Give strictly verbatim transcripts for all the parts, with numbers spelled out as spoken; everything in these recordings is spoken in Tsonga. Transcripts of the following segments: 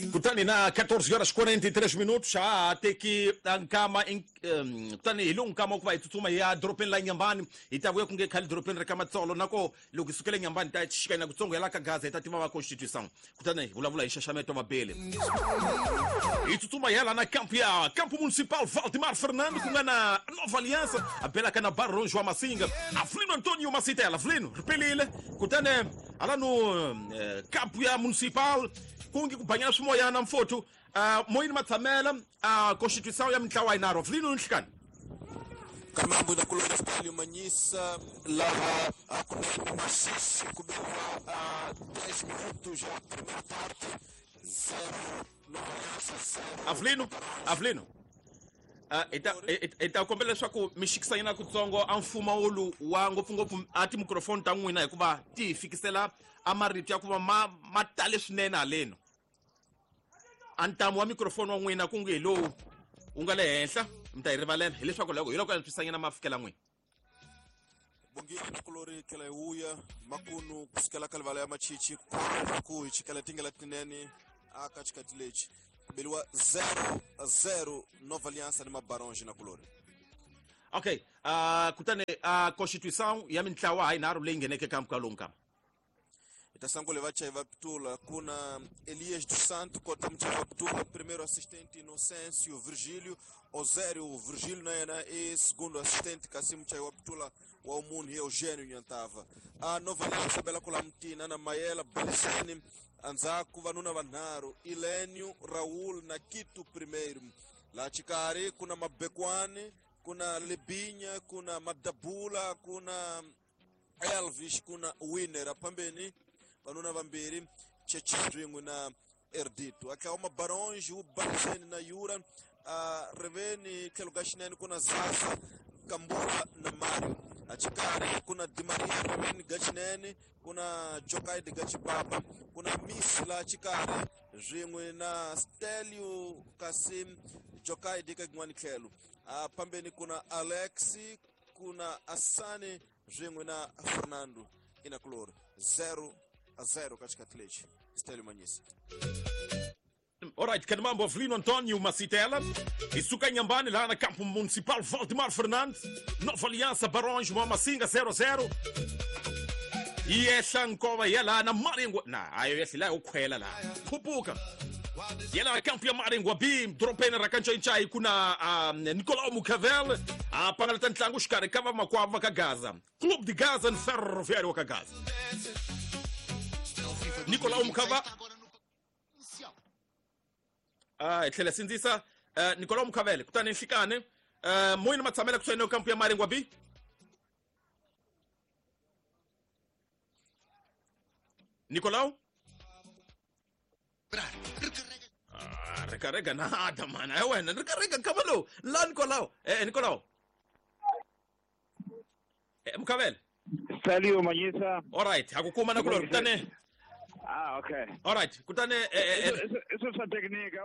Kutani na catorze horas quarenta e três minutos xa teki nkama kutani hi lowu nkama ku va hi tsutsuma hi ya dorobeni la Nyambani hi ta vuya ku nge khale dorobeni ra ka Matsolo nako loko hi sukele Nyambani ta xikanyana kutsongo ya la ka Gaza hi ta tiva va constitution kutani hi vulavula hi nxaxameto wa bele hi tsutsuma hi ya la na campo ya Campo Municipal Valdemar Fernando ku nga na Nova Aliança a belaka na Barões wa Massinga Avelino Antonio Masitela Avelino ri pelile kutani hala no campo ya Municipal kungi ku banyana swimoyana mfothu uh, moyini matshamela a uh, constituição ya mintlawa yinharhu Avelino nhlikani kamambo na kulona Stalio Manyisa laha akunene masisi kubekwa dez minutos já primeira parte zero Avelino Avelino hi ta kombela leswaku mi xikisanyana kutsongo a mfumawulu wa ngopfungopfu a timicrofoni ta n'wina hikuva ti hi fikisela a marito ya ku va ma ma tale swinene haleno a ntamu wa microfoni wa n'wina ku nge hi lowu wu nga le henhla mi ta hi rivalela hileswaku loko hi loko antswisanyana ma fikela n'wina bongile nakulori tlhela hi vuya makunu kusukela ka livala ya machichi ku hi chikela tingela tinene aka xikati lexi kubeliwa zero zero Nova Aliança ni Mabaronge na kulori. Okay, uh, kutani uh, constituição ya mintlawa ha yinharhu leyi ngheneke ka mpfhuka lowu nkama itasangule vachayi va pitula kuna Elias dos Santos kota muchayi wa pitula primeiro assistente Inocêncio Virgílio Osério Virgílio na yena e segundo assistente kasi muchayi wa pitula wa umunhu Eugênio Nyantava a Nova Aliança bela kula mtina na Mayela Baliseni andzhaku vanuna vanharhu Ilênio Raul na Quito primeiro la xikarhi kuna Mabekwani kuna Lebinya kuna Madabula kuna Elvis kuna Winner apambeni vanuna vambirhi Chechidringu na Erdito atlawa Mabaronge wu Baliseni na Yura uh, riveni tlhelo ka xinene kuna Zaza Kambula na Mario axikarhi kuna Di Maria riveni ga xinene kuna Jokaidi ga Chibaba kuna Miss la xikarhi swin'we na Stelio kasi Jokaidi ka yin'wani tlhelo a pambeni kuna Alex kuna Asani swin'we na Fernando Inakulori zero a zero ka xikati lexi Stelio Manyisa. Alright, Kanamambo Avelino Antonio Masitela hi suka Nyambani laha na Campo Municipal Valdemar Fernandes Nova Aliança Barões Massinga zero zero yi ehla nkova hi ya laha na Maringwa na ayo yehli laha yo khwela laha khupuka ya laha campo ya Maringwa B dorobeni ra ka Ncayincai ku na um, Nicolau Mucavel a pangalata ntlangu xikarhi ka vamakwavo va ka Gaza Clube de Gaza ni Ferroviário wa ka Gaza Nicolau Mucava ah hi tlhela sindzisa uh, Nicolau Mucavele kutani nhlikani uh, moyini matshamela kusuhi na kampu ya Maringwa B Nicolau ah recarrega nada mana é wena recarrega nkama lowu la Nicolau eh Nicolau eh Mucavele Stalio Manyisa. All right ha ku kuma na kulori kutani Ah, okay. All right. Kutane eh eso sa técnica.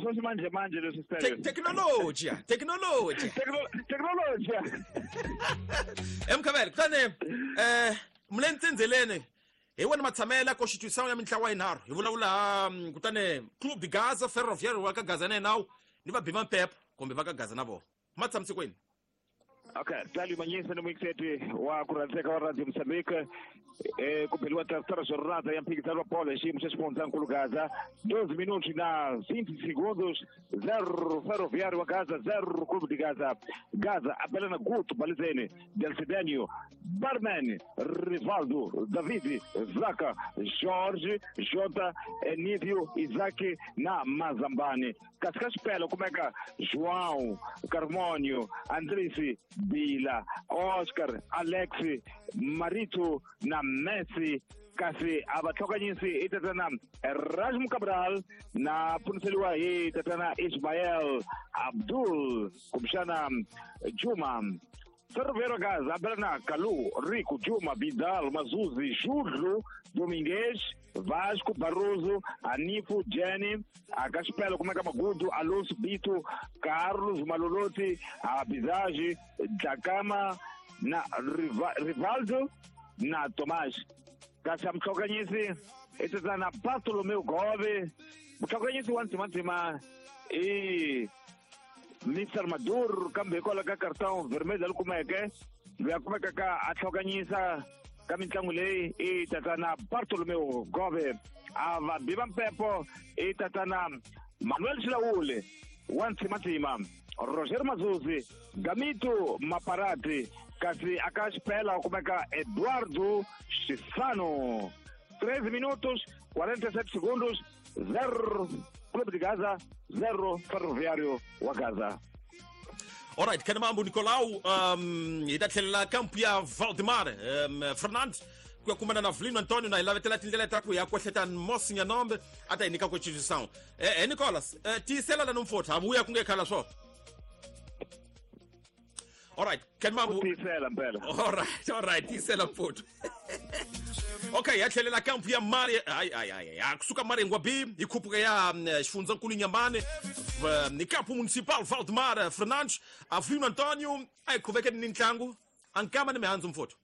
So si manje manje leso Stalio. Tecnologia, tecnologia. Tecnologia. Emkabel, kutane eh mlentsenzelene hi wena matshamela constituição ya mintlawa yinharhu hi vulavula kutane Clube de Gaza Ferroviário wa ka Gaza na nawu ni va bima mpepho kumbe va ka Gaza na vona matshamisekweni. Okay, Stalio Manyisa ni muikiseti wa kurhandzeka wa Radio Mozambique eh kubeliwa terceira jornada ya mphikizano wa bola xiyimo xa xifundzankulu Gaza doze minutos na vinte segundos zero Ferroviário wa Gaza zero Clube de Gaza Gaza abela na Guto Balizene Delcidenio Barman Rivaldo David Zaka Jorge Jota Enívio Isaac na Mazambani kasi ka xipelo kumeka João Carmônio Andrisi Bila Oscar Alex Marito na Messi kasi a va tlhokanyisi i tatana Erasmo Cabral na pfuniseliwa hi tatana Ismael Abdul kumbexana Juma Ferroviário Gaza abela na Kalu Rico Juma Vidal Mazuzi Júlio Domingues Vasco Barroso Anifo Jenny Akaxipelo kumeka Magudu Alonso Bito Carlos Maloloti Abizage Jakama na Rivaldo na Tomás kasi a mutlhokanyisi I tatana Bartolomeu Gove. Mutlhokanyisi wa ndzimandzima i Mister Maduro kambe hikwalaho ka cartão vermelho leri kumeke loyi a kumekaka a tlhokanyisa ka mitlangu leyi i tatana Bartolomeu Gove. A vabi va mpepo i tatana Manuel Xilawule wa ndzimandzima, Roger Mazuzi, Gamito Maparati, kasi aka xipela u kumeka Eduardo Chisano. treze minutos quarenta e sete segundos, zero Clube de Gaza, zero Ferroviário wa Gaza. Alright, kana mambo Nicolau, um, hi ta tlhelela kampu ya Valdemar um, Fernandes ku ya kumana na Vilino Antonio na hi lavetela tindlela ta ku ya kwehleta Mosi Nyanombe a ta hi nyika constituição. Eh, eh Nicolas, eh, tiyisela la nomfotha ha vuya ku nge khala swona. Alright, kan mambo tiyisela mpela. Alright, alright, tiyisela mfotho. Okay, ya tlhelela kampu ya Mari, ay ay ay ay, kusuka Maringwa B, hi khupuka ya xifundzankulu Inhambane, ni campo municipal Valdemar Fernandes, Avelino Antonio, ay khuveke ni ntlangu, ankama ni mihandzu mfotho.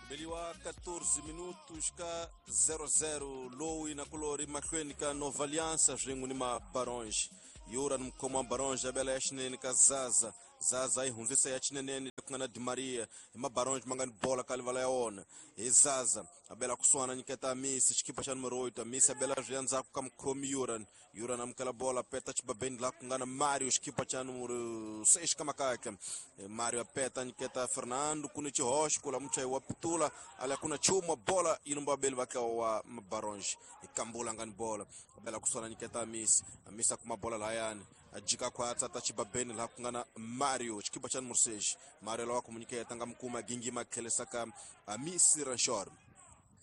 Beliwa quatorze minutos ka zero zero lowu na kulori mahlweni ka Nova Aliança swin'we ni Mabaronge. Yura ni mukhomi wa Baronge abela ya xinene ka Zaza. Zaza yi hundzisa ya xinenene ku nga na Di Maria. Hi Mabaronge ma nga ni bola ka livala ya wona. Hi Zaza abela kusuhana nyiketa Amisi xikipa xa numero oito. Amisi abela swi ya ndzhaku ka mukhomi Yuran. Yuran amukela bola peta xibabeni laha ku nga na Mario xikipa xa numero seis ka makaka. Mario apeta nyiketa Fernando ku ni xihoxo ku la muchayi wa Pitula ala ku na chuma bola yi lumba vabeli va tlawa wa Mabaronge. Hi Kambula nga ni bola abela kusuhana nyiketa Amisi. Amisi a kuma bola lahayani a jika khwatsa ta xibabeni laha ku nga na Mario xikipa xa numero seis. Mario lawa ku mu nyiketa nga mukuma gingima tlhelisa ka Amisi Ranchor.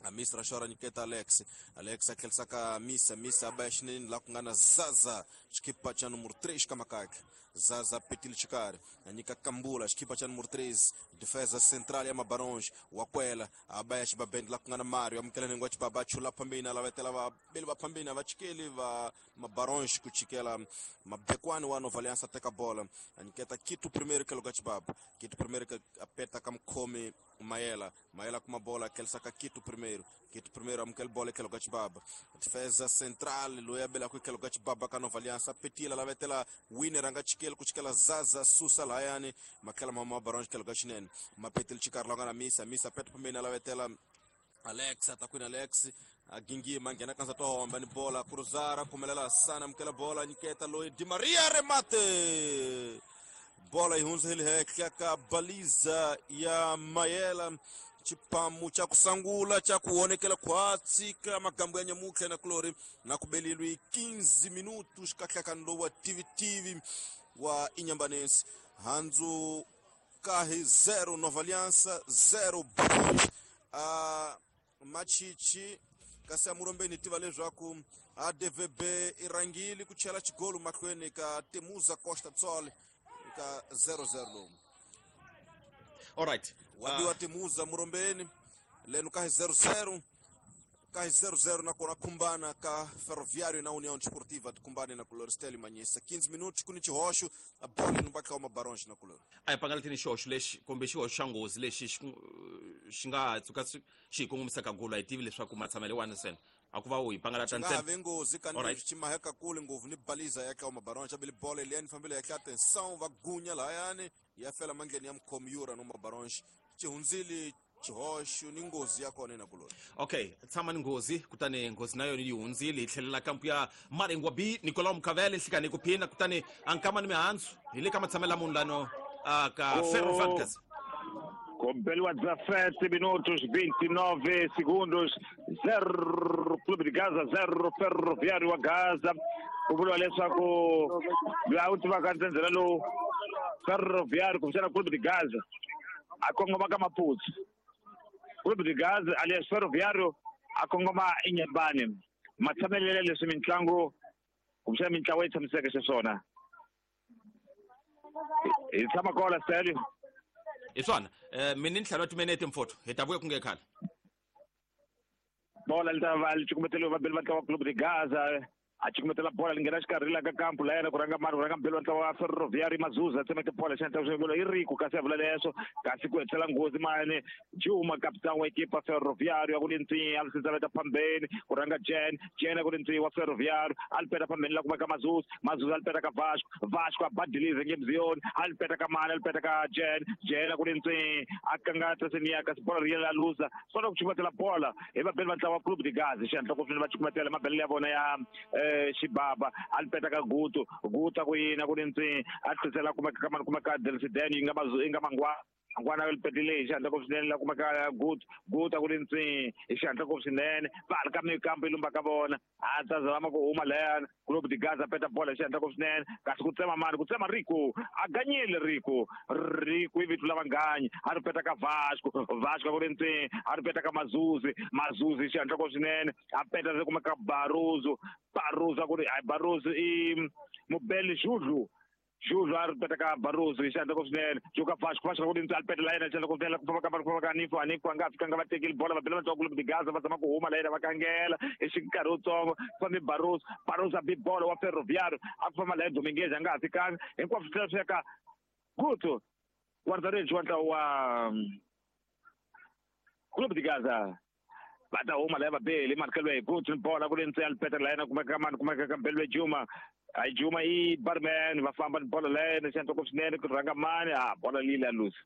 Amisi Ranchor nyiketa Alex. Alex a tlhelisa ka Amisi. Amisi a ba xinene laha ku nga na Zaza xikipa xa numero três ka makaka. Zaza petile xikarhi a nyika Kambula xikipa xa numero treze, defesa central ya Mabaronge. Wakwela a ba ya xibabeni laha ku nga na Mario amukela nhengu wa xibaba a chula phambeni a lavetela vabeli va phambeni a va chikeli va Mabaronge ku chikela Mabekwani wa Nova Aliança teka bola a nyiketa Kito primeiro ke loka xibaba. Kito primeiro ke apeta ka mukhomi Mayela. Mayela kuma bola tlhelisa ka Kito primeiro. Kito primeiro amukela bola ke loka xibaba. Defesa central loyi a belaka ke loka xibaba ka Nova Aliança petila lavetela winner a nga chikeli ku chikela Zaza susa lahayani matlhela ma Mabaronge ke loka xinene. Mapetile xikarhi la nga na Misa. Misa peta phambeni a lavetela Alex atakwini Alex a gingima nghena ka ndzhaku homba ni bola cruzara phumelela Sana amukela bola nyiketa loyi Di Maria remate. Bola yi hundza hi le henhla ka baliza ya Mayela. Xipamu xa ku sangula xa ku honekela khwatsi ka magambo ya nyamutlha na kulori na ku belilwi quinze minutos ka nhlakano lowu wa T V T V wa Inhambanense. Handzu kahi zero Nova Aliança zero Baronge. A Machichi kasi a Murombeni tiva leswaku A D V B i rhangile ku chela xigolo mahlweni ka Temuza Costa Tsol ka zero zero lowu. Alright. Wabiwa Temuza Murombeni leno ka zero zero ka zero zero nakona khumbana ka Ferroviário na União Desportiva de na color Stélio Manyisa quinze minutos ku ni xihoxo a bola ni batla wa Mabaronge na color. A hi pangalatini xihoxo lexi kumbe xihoxo xa nghozi lexi xi nga tshuka xi hi kongomisaka golo a hi tivi leswaku matshamelo wani ntsena a ku va u hi pangalata ntsena. Nga nghozi ka ni xi maheka kule ngopfu ni baliza ya ka Mabaronge bele bola leyani fambile ya ka atenção va gunya lahayani ya fela mandleni ya mukhomi Yura no Mabaronge xi hundzile xihoxo ni nghozi ya kona na kuloni. Okay, tshama ni nghozi kutani nghozi na yona yi hundzile hi tlhelela kampu ya Maringwa B Nicolau Mukavele nhlikani ku phina kutani a nkama ni mihandzu hi le ka matshamelo munhu lano ka Ferro Vargas. Compeliwa dezessete minutos vinte e nove segundos, zero Clube de Gaza, zero Ferroviário wa Gaza. Ku vuriwa leswaku loyi a wu tivaka ndzhendzhela lowu Ferroviário kumbexana Clube de Gaza a kongoma ka Maputo. Clube de Gaza, aliás Ferroviário, a kongoma Inhambane. Matshamelelo leswi mintlangu kumbexana mintlawa yi tshamiseke xiswona. Hi tshama kona Stelio. Hi swona mina ni ntlhanu wa timinete mfotho hi ta vuya ku nge khale. Bola li ta va li cukumeteliwe vabeli va ntlawa wa Clube de Gaza. A cukumetela bola li nghena xikarhi la ka kampu la yena ku rhanga mani ku rhanga mbelo wa ntlawa wa Ferroviário Mazuza a tsemeke bola xi endla i Rico kasi a vula leswo kasi ku hetisela nghozi mani Juma capitão wa ekipa Ferroviário a ku li a li phambeni ku rhanga Jen Jen a ku li wa Ferroviário a li peta phambeni la kumeka Mazuza Mazuza a li peta ka Vasco Vasco a badilize ngemziyoni a li peta ka mani a li peta ka Jen Jen a ku li a kangata seniya kasi bola ri yela luza sona ku cukumetela bola hi vabeli va ntlawa wa Clube de Gaza xihatla ku va cukumetela mabelele ya vona ya xibaba a li peta ka Guto Guto a ku yini a ku li a tlhisela kumeka ka mani kumeka Delcidene yi nga yi nga mangwa ngwana li petile hi xihatla ngopfu swinene la kumeka Guto Guto a ku li hi xihatla ngopfu swinene va ha ri ka mikambo yi lumba ka vona a ta zama ku huma layani Clube de Gaza peta bola hi xihatla ngopfu swinene kasi ku tsema mani ku tsema Rico a ganyile Rico Rico i vito la vanganyi a ri peta ka Vasco Vasco a ku li a ri peta ka Mazuzi Mazuzi hi xihatla ngopfu swinene a peta ri kumeka Baruzu Baruzu a ku ri Baruzu i Mubeli Judlu Judlu a ri peta ka Baruzu hi xihatla ngopfu swinene Juka Vasco Vasco ku li a ri peta la yena xihatla ngopfu swinene ku famba ka ku famba ka Anifo Anifo a nga fikanga va tekile bola va bela va Clube de Gaza va zama ku huma la yena va kangela hi xikarhi wutsongo fambi Baruzu Baruzu a bi bola wa Ferroviário a ku famba la yena Dominguez a nga ha fikanga hinkwaswo swi tlhela swi ya ka Guto guarda-redes wa ntlawa wa Clube de Gaza va ta huma la va beli markelo hi Guto bola ku li a li peta la yena kumeka mani kumeka ka Mbelwe Juma a Juma i barman va famba ni bola la yena xihatla ngopfu swinene ku rhanga mani a bola leyi la luza.